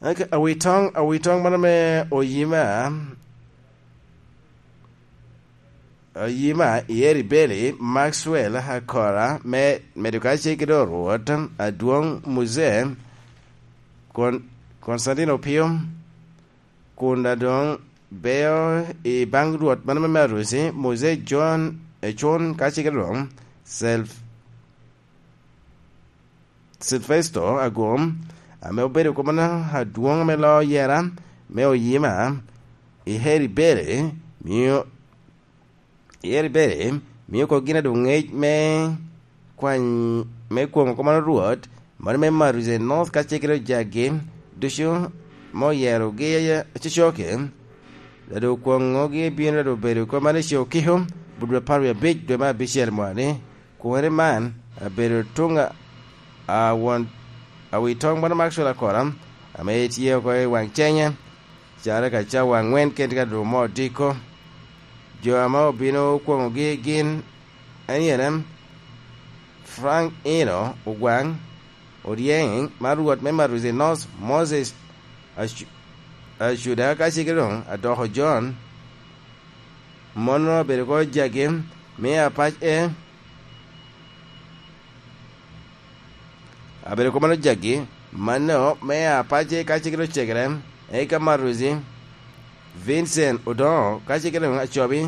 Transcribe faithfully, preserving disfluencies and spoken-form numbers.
Awitoŋ awitoŋ mano me oyima oyima i eri beli, Maxwell Akora me medo kacel kede orwot adwoŋ Muse Kon- Konstantino Opio, kun adoŋ beo i baŋ rwot mano me Marusi, Muse John Ecun kacel kede doŋ Self Silvesto Agum, ame obedo komona adwoŋ ame loo yera me oyima i Heri Bere, mio i Heri Bere, mio kok gin adoŋ ŋec me kwany me kwoŋo komona Rwot, mano me Maruze North ka cegere ojagi ducu me oyerogi cocoki, dado kwoŋogi bino dado obedo komana i Ciokiko, budwe apar wie abic dwe me abicel mwani. Kwone man abedo tuŋ a won awitoŋ bano Maxwell Akora, ame tye oko i waŋ cenye, caro ka cawa aŋwen kede ka dwogo mo odiko. Jo ame obino okwoŋogi gin eniene, Frank Ino Ogwaŋ, Oryeng, mar Rwot me Maruzi North, Moses Acu- Acuda, ka cege doŋ adoko John, mono abedo ko jagi me apac e abedo ko mano jagi, mano me apace ka cege doŋ cegere, eka Maruzi Vincent Odongo ka cege doŋ acobi,